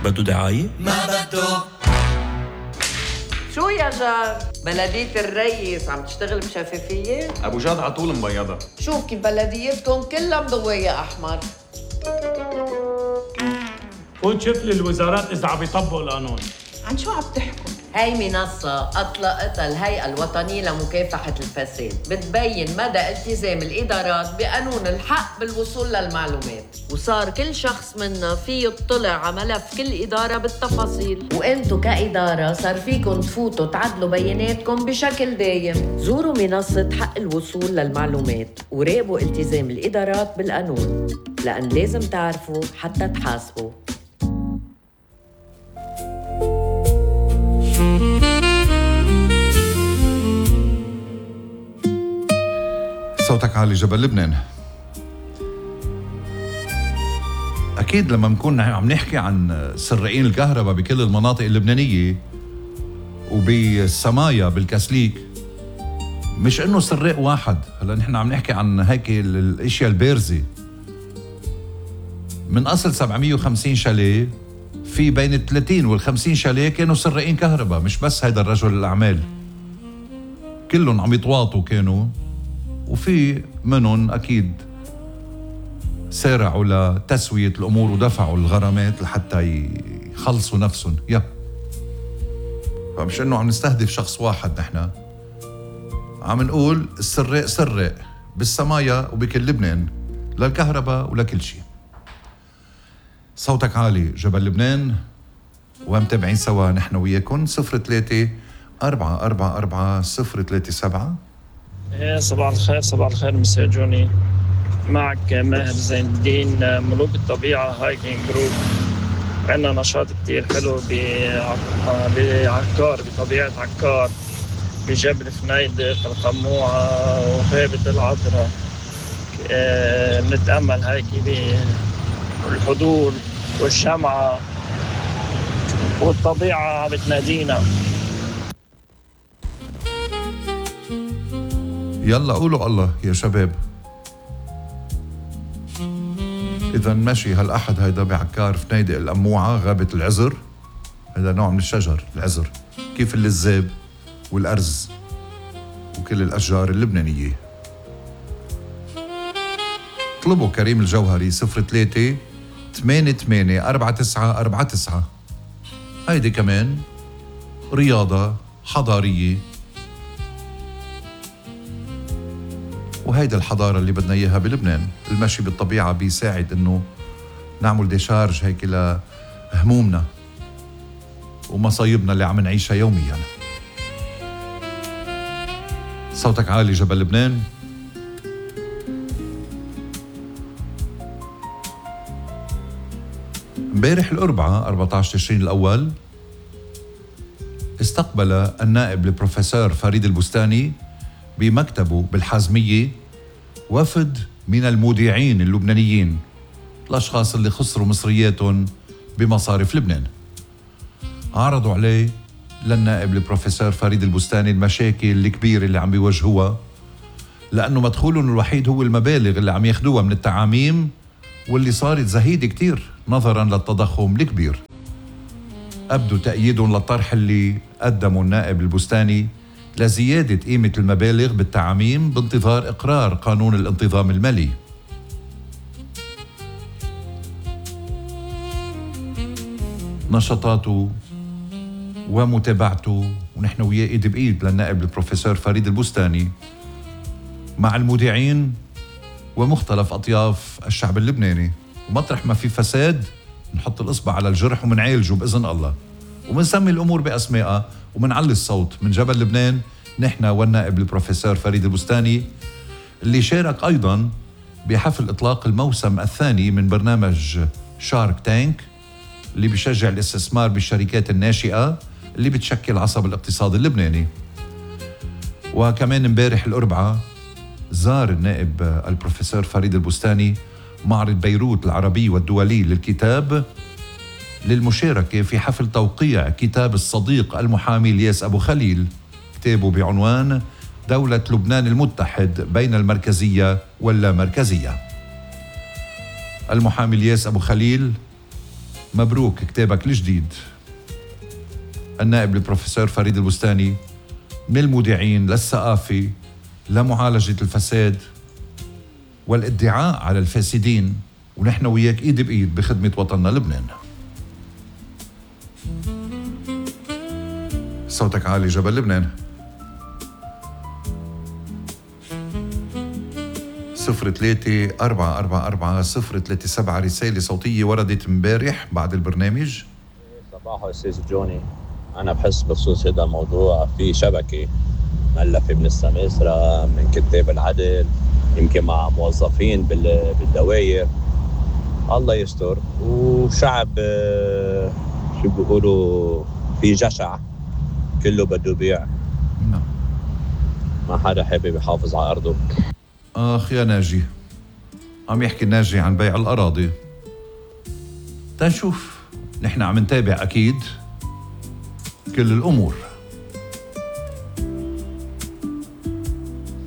بدو دعاية؟ ما بدو. شو يا جار؟ بلدية الريس عم تشتغل بشفافية؟ ابو جاد عطول مبيضة. شوف كيف بلديتكم كلها مضوية أحمر. فوت شوف لي الوزارات إذا عم يطبقوا القانون. عن شو عم تحكوا؟ هاي منصة أطلقتها الهيئة الوطنية لمكافحة الفساد، بتبين مدى التزام الإدارات بقانون الحق بالوصول للمعلومات، وصار كل شخص منا فيه يطلع على ملف كل إدارة بالتفاصيل، وإنتو كإدارة صار فيكن تفوتوا تعدلوا بياناتكم بشكل دايم. زوروا منصة حق الوصول للمعلومات وراقبوا التزام الإدارات بالقانون، لأن لازم تعرفوا حتى تحاسبوا. صوتك عالي جبل لبنان. أكيد لما نكون عم نحكي عن سرقين الكهرباء بكل المناطق اللبنانية وبالسمايا بالكاسليك، مش إنه سرق واحد. هلا نحن عم نحكي عن هيك الأشياء البارزة. من أصل 750 شاليه، في بين 30 وال50 شاليه كانوا سرقين كهرباء. مش بس هيدا الرجل الأعمال، كلهم عم يتواطوا كانوا، وفي منهم أكيد سارعوا لتسوية الأمور ودفعوا الغرامات لحتى يخلصوا نفسهم. فمش إنه عم نستهدف شخص واحد، نحن عم نقول السرق سرق بالسمايا وبكل لبنان للكهرباء ولكل شيء. صوتك عالي جبل لبنان، ومتابعين سوا نحن وياكم 03-444-037. صباح الخير. صباح الخير مساء جوني، معك ماهر زين الدين، ملوك الطبيعة هايكينج جروب. عندنا نشاط كتير حلو بعكار، بطبيعة عكار، بجبل فنيدق، القموعة وغابة العذراء. بنتأمل هيك بالحضور والشمعة والطبيعة بتنادينا. يلا قولوا الله يا شباب. إذا ماشي هالأحد هيدا بعكار فنيدق القموعة، غابة العزر. هذا نوع من الشجر العزر، كيف اللزاب والأرز وكل الأشجار اللبنانية. اطلبوا كريم الجوهري 03-88-4949. هيدي كمان رياضة حضارية، وهيدا الحضارة اللي بدنا إياها بلبنان. المشي بالطبيعة بيساعد إنه نعمل ديشارج هيك لهمومنا ومصايبنا اللي عم نعيشها يوميا. صوتك عالي جبل لبنان. امبارح الأربعاء 14 تشرين الأول استقبل النائب البروفيسور فريد البستاني بمكتبه بالحازمية وفد من المودعين اللبنانيين، الأشخاص اللي خسروا مصرياتهم بمصارف لبنان. عرضوا عليه للنائب البروفيسور فريد البستاني المشاكل الكبيرة اللي عم بيواجهوها، لأنه مدخولهم الوحيد هو المبالغ اللي عم ياخدوها من التعاميم، واللي صارت زهيدة كتير نظراً للتضخم الكبير. أبدوا تأييدهم للطرح اللي قدمه النائب البستاني لزيادة قيمة المبالغ بالتعاميم بانتظار إقرار قانون الانتظام المالي. نشاطاته ومتابعته ونحن وياه إيد بإيد للنائب البروفيسور فريد البستاني مع المودعين ومختلف أطياف الشعب اللبناني. ومطرح ما في فساد نحط الإصبع على الجرح ومنعالجه بإذن الله، ومنسمي الأمور بأسمائها ومنعلي الصوت من جبل لبنان نحن والنائب البروفيسور فريد البستاني، اللي شارك أيضاً بحفل إطلاق الموسم الثاني من برنامج شارك تانك اللي بيشجع الاستثمار بالشركات الناشئة اللي بتشكل عصب الاقتصاد اللبناني. وكمان امبارح الأربعاء زار النائب البروفيسور فريد البستاني معرض بيروت العربي والدولي للكتاب للمشاركة في حفل توقيع كتاب الصديق المحامي الياس أبو خليل، كتابه بعنوان دولة لبنان المتحد بين المركزية واللامركزية. المحامي الياس أبو خليل مبروك كتابك الجديد. النائب البروفيسور فريد البستاني، من المودعين للثقافة لمعالجة الفساد والادعاء على الفاسدين، ونحن وياك ايد بايد بخدمة وطننا لبنان. صوتك عالي جبل لبنان. 03-444-037 رسالة صوتية وردت امبارح بعد البرنامج. صباحو أستاذ جوني، أنا بحس بخصوص هذا الموضوع في شبكة مؤلفة من السماسرة، من كتاب العدل، يمكن مع موظفين بالدوائر. الله يستر. وشعب شو بيقولوا في جشع كله بده يبيع، ما حدا حابب يحافظ على أرضه. آخ يا ناجي، عم يحكي الناجي عن بيع الأراضي. تنشوف، نحن عم نتابع أكيد كل الأمور.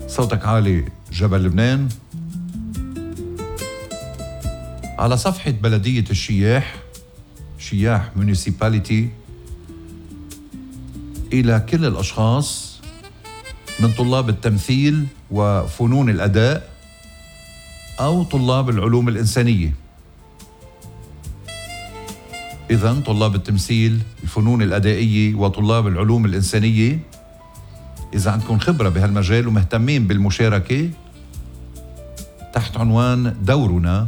صوتك عالي جبل لبنان. على صفحة بلدية الشياح، شياح مونيسيباليتي، إلى كل الأشخاص من طلاب التمثيل وفنون الأداء أو طلاب العلوم الإنسانية. إذن طلاب التمثيل، الفنون الأدائية وطلاب العلوم الإنسانية، إذا عندكم خبرة بهالمجال ومهتمين بالمشاركة تحت عنوان دورنا،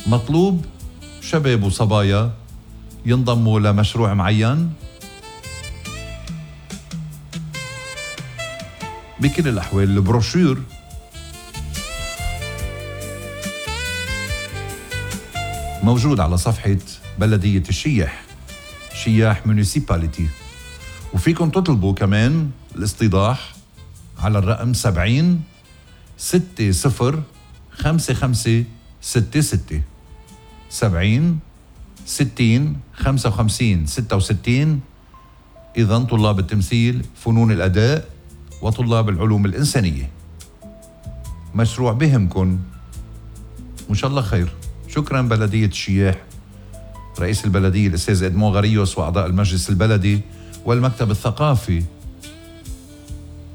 مطلوب شباب وصبايا ينضموا لمشروع معين. بكل الأحوال البروشور موجود على صفحة بلدية الشياح، شياح مونيسيباليتي، وفيكم تطلبوا كمان الاستيضاح على الرقم 70 60 55 66 70 60 55 66. إذن طلاب التمثيل، فنون الأداء وطلاب العلوم الإنسانية، مشروع بهمكن وإن شاء الله خير. شكرا بلدية الشياح، رئيس البلدية الأستاذ إدمون غريوس وأعضاء المجلس البلدي والمكتب الثقافي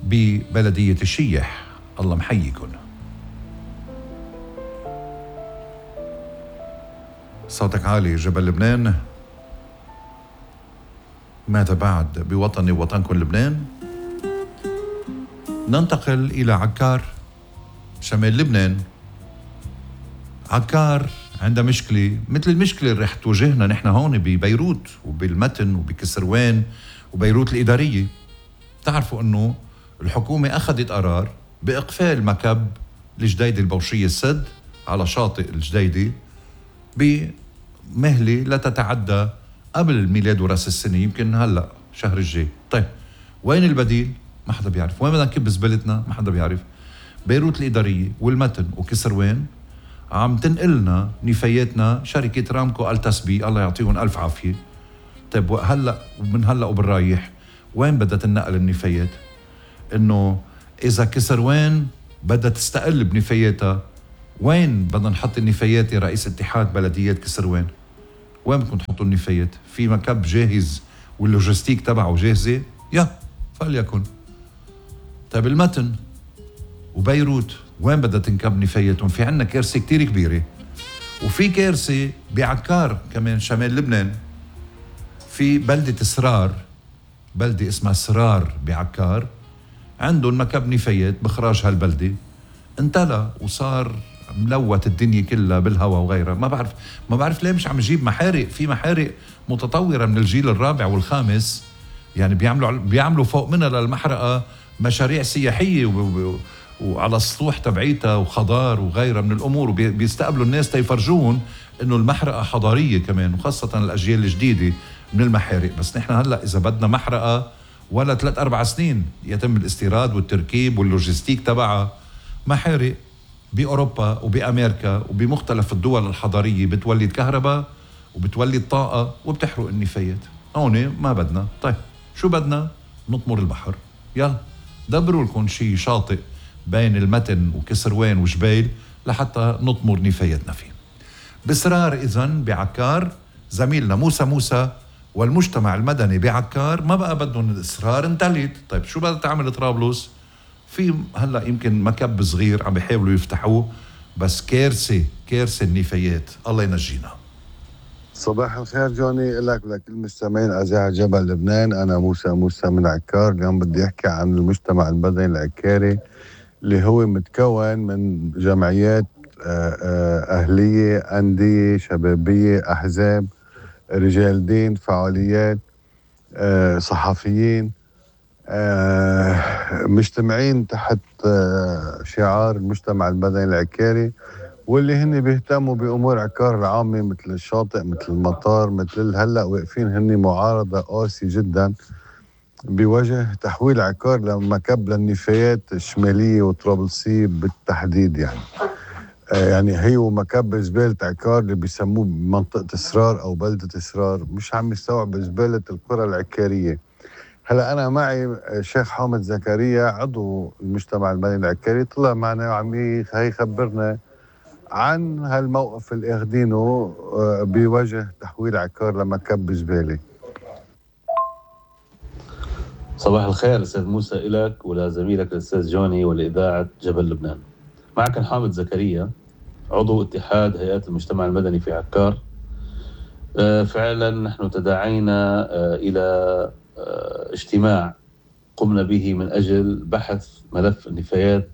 ببلدية الشياح، الله محييكن. صوتك عالي جبل لبنان. ماذا بعد بوطني ووطنكم لبنان؟ ننتقل إلى عكار شمال لبنان. عكار عندها مشكلة مثل المشكلة اللي رح تواجهنا نحن هون ببيروت وبالمتن وبكسروان وبيروت الإدارية. تعرفوا أنه الحكومة أخذت قرار بإقفال مكب الجديدة البوشية السد على شاطئ الجديدة بمهلة لا تتعدى قبل الميلاد وراس السنة، يمكن هلأ شهر الجاي. طيب وين البديل؟ ما حدا بيعرف. وين بدنا نكب زبالتنا؟ ما حدا بيعرف. بيروت الإدارية والمتن وكسروان عم تنقلنا نفاياتنا شركة رامكو التسبي، الله يعطيهم ألف عافية. طيب هلأ ومن هلأ وبالرايح وين بدها تنقل النفايات؟ إنه إذا كسروان بدها تستقل بنفاياتها، وين بدنا نحط النفايات يا رئيس اتحاد بلديات كسروان؟ وين بدكم تحطوا النفايات؟ في مكب جاهز واللوجستيك تبعه جاهزة؟ يا فليكن. طيب المتن وبيروت وين بدها تنكب نفاياتهم؟ في عنا كارثة كتير كبيرة. وفي كارثة بعكار كمان شمال لبنان، في بلدة سرار، بلدة اسمها سرار بعكار، عندهم مكب نفايات بخراج هالبلدة انتلى وصار ملوت الدنيا كلها بالهواء وغيرها. ما بعرف ليه مش عم يجيب محارق. في محارق متطورة من الجيل الرابع والخامس، يعني بيعملوا فوق منها للمحرقة مشاريع سياحية وعلى السطوح تبعيتها وخضار وغيرها من الأمور، وبيستقبلوا الناس تيفرجون إنه المحرقة حضارية كمان، وخاصة الأجيال الجديدة من المحارق. بس نحن هلأ إذا بدنا محرقة ولا 3-4 سنين يتم الاستيراد والتركيب واللوجستيك تبعها. محارق بأوروبا وبأمريكا وبمختلف الدول الحضارية بتولد كهرباء وبتولد طاقة وبتحرق النفايات. هون ما بدنا. طيب شو بدنا؟ نطمر البحر. يلا دبروا لكم شي شاطئ بين المتن وكسروان وجبيل لحتى نطمر نفاياتنا فيه. بإصرار إذن بعكار زميلنا موسى والمجتمع المدني بعكار ما بقى بدهم الإصرار انتلت. طيب شو بدها تعمل طرابلس؟ في هلأ يمكن مكب صغير عم بيحاولوا يفتحوه، بس كارثة النفايات، الله ينجينا. صباح الخير جوني، لك ولكل المستمعين أذاعة جبل لبنان. أنا موسى من عكار. اليوم بدي أحكي عن المجتمع المدني العكاري اللي هو متكون من جمعيات أهلية، أندية شبابية، أحزاب، رجال دين، فعاليات، صحفيين، مجتمعين تحت شعار المجتمع المدني العكاري، واللي هن بيهتموا بأمور عكار العامة مثل الشاطئ، مثل المطار، مثل هلأ واقفين هن معارضة قاسية جدا بوجه تحويل عكار لمكب للنفايات الشمالية وطرابلسية بالتحديد. يعني هي ومكب زبالة عكار اللي بيسموه منطقة إصرار أو بلدة إصرار مش عم يستوعب زبالة القرى العكارية. هلا أنا معي الشيخ حامد زكريا عضو المجتمع المدني العكاري، طلع معنا وعم يخبرنا عن هالموقف اللي اخدينه بوجه تحويل عكار لمكب زبالة. صباح الخير أستاذ موسى، إلك ولزميلك الأستاذ جوني ولإذاعة جبل لبنان. معك حامد زكريا عضو اتحاد هيئات المجتمع المدني في عكار. فعلا نحن تداعينا إلى اجتماع قمنا به من أجل بحث ملف النفايات،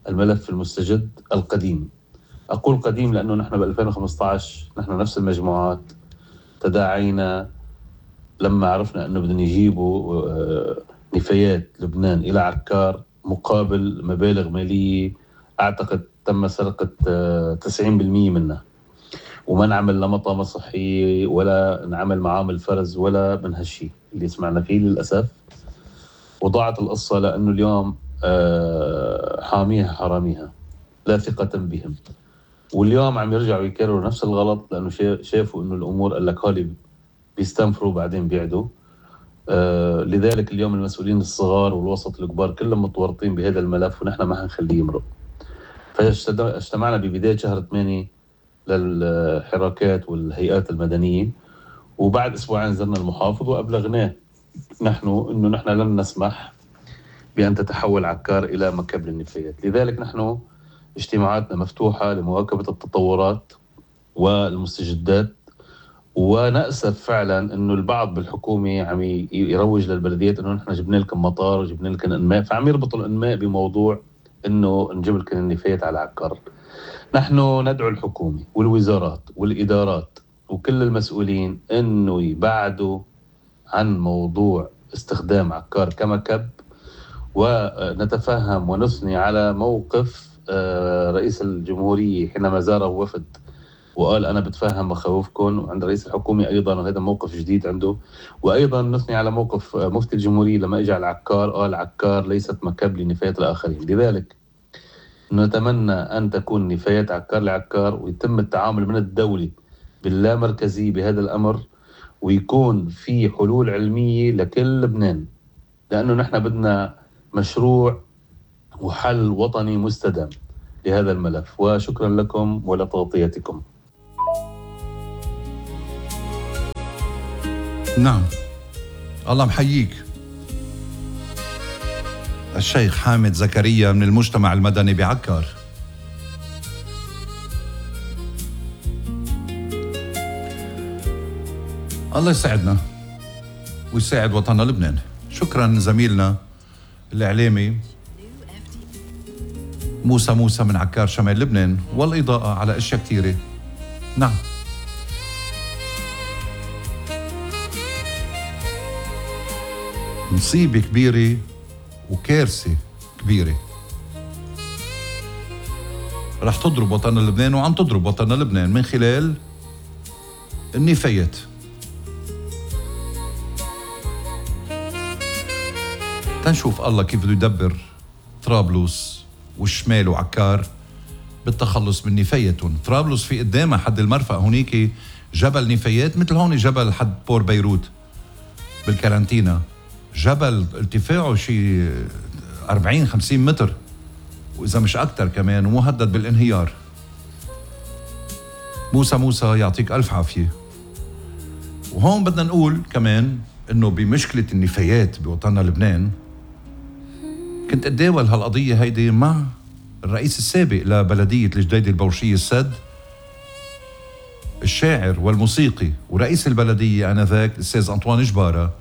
الملف المستجد القديم. أقول قديم لأنه نحن ب2015 نحن نفس المجموعات تداعينا لما عرفنا أنه بدنا يجيبوا نفايات لبنان إلى عكار مقابل مبالغ مالية أعتقد تم سرقة 90% منها، وما نعمل لا مطامة صحية ولا نعمل معامل فرز ولا من هالشي اللي سمعنا فيه للأسف. وضاعت القصة لأنه اليوم حاميها حراميها لا ثقة بهم، واليوم عم يرجعوا يكرروا نفس الغلط لأنه شافوا أنه الأمور قال لك هولي بيستنفروا بعدين بيعدوا. لذلك اليوم المسؤولين الصغار والوسط الكبار كلهم متورطين بهذا الملف ونحن ما هنخليه يمرق. فاجتمعنا ببداية شهر 8 للحراكات والهيئات المدنية، وبعد أسبوعين زرنا المحافظ وأبلغناه نحن أنه نحن لن نسمح بأن تتحول عكار إلى مكب للنفايات. لذلك نحن اجتماعاتنا مفتوحة لمواكبة التطورات والمستجدات. ونأسف فعلا أنه البعض بالحكومة عم يروج للبلديات أنه نحن جبنا لكم مطار وجبنا لكم إنماء، فعم يربطوا الإنماء بموضوع أنه نجيب لكم النفايات على عكار. نحن ندعو الحكومة والوزارات والإدارات وكل المسؤولين أنه يبعدوا عن موضوع استخدام عكار كمكب، ونتفهم ونثني على موقف رئيس الجمهورية حينما زاره وفد وقال أنا بتفهم مخاوفكم، وعند رئيس الحكومة أيضا وهذا موقف جديد عنده. وأيضا نثني على موقف مفتي الجمهورية لما إجا على عكار قال عكار ليست مكب لنفايات الآخرين. لذلك نتمنى أن تكون نفايات عكار لعكار، ويتم التعامل من الدولة باللامركزية بهذا الأمر، ويكون في حلول علمية لكل لبنان، لأنه نحن بدنا مشروع وحل وطني مستدام لهذا الملف. وشكرا لكم ولتغطيتكم. نعم، الله محييك الشيخ حامد زكريا من المجتمع المدني بعكار. الله يساعدنا ويساعد وطننا لبنان. شكرا زميلنا الإعلامي موسى من عكار شمال لبنان، والإضاءة على أشياء كثيرة. نعم، مصيبة كبيرة وكارثة كبيرة رح تضرب وطننا لبنان، وعم تضرب وطننا لبنان من خلال النفايات. تنشوف الله كيف بده يدبر طرابلس والشمال وعكار بالتخلص من نفايتهم. طرابلس في قدامها حد المرفأ هونيك جبل نفايات مثل هون جبل حد بور بيروت بالكارانتينا، جبل ارتفاعه شي 40-50 متر وإذا مش أكتر كمان، ومهدد بالانهيار. موسى يعطيك ألف عافية. وهون بدنا نقول كمان إنه بمشكلة النفايات بوطننا لبنان كنت أتداول هالقضية هيدي مع الرئيس السابق لبلدية الجديدة البورشية السد، الشاعر والموسيقي ورئيس البلدية آنذاك الأستاذ أنطوان جبارة.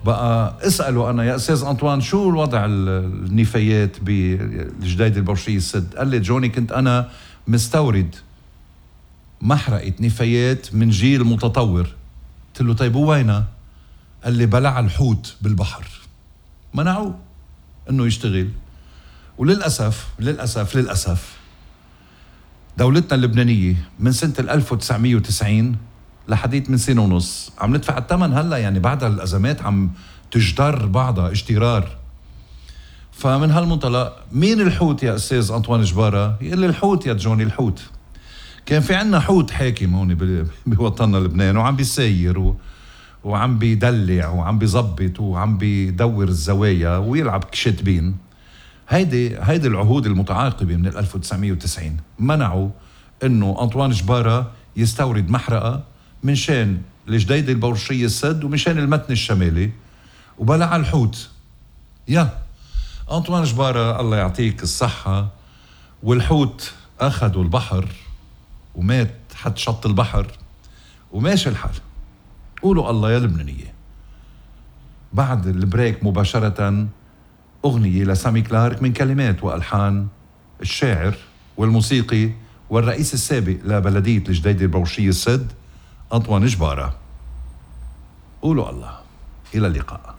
بقى اسأله أنا يا أستاذ أنطوان شو الوضع النفايات بالجديدة البورشية السد؟ قال لي جوني كنت أنا مستورد محرقة نفايات من جيل متطور. قلت له طيب وينها؟ قال لي بلع الحوت بالبحر، منعوه انه يشتغل. وللأسف دولتنا اللبنانية من سنة 1990 لحديث من سنة ونص عم ندفع الثمن هلا، يعني بعد الأزمات عم تجدر بعضها اجترار. فمن هالمنطلق مين الحوت يا أستاذ أنطوان جبارة؟ يقول لي الحوت يا جوني الحوت. كان في عنا حوت حاكم هون بوطننا لبنان وعم بيسير وعم بيدلع وعم بيزبط وعم بيدور الزوايا ويلعب كشتبين. هيدي العهود المتعاقبة من 1990 منعوا انه أنطوان جبارة يستورد محرقة من شان الجديدة البورشية السد ومن شان المتن الشمالي، وبلع الحوت. يا أنطوان جبارة الله يعطيك الصحة، والحوت أخذوا البحر ومات حد شط البحر وماشي الحال. قولوا الله يا لبنانية. بعد البريك مباشرة أغنية لسامي كلارك من كلمات وألحان الشاعر والموسيقي والرئيس السابق لبلدية الجديدة البورشية السد أنطوان جبارة. قولوا الله. إلى اللقاء.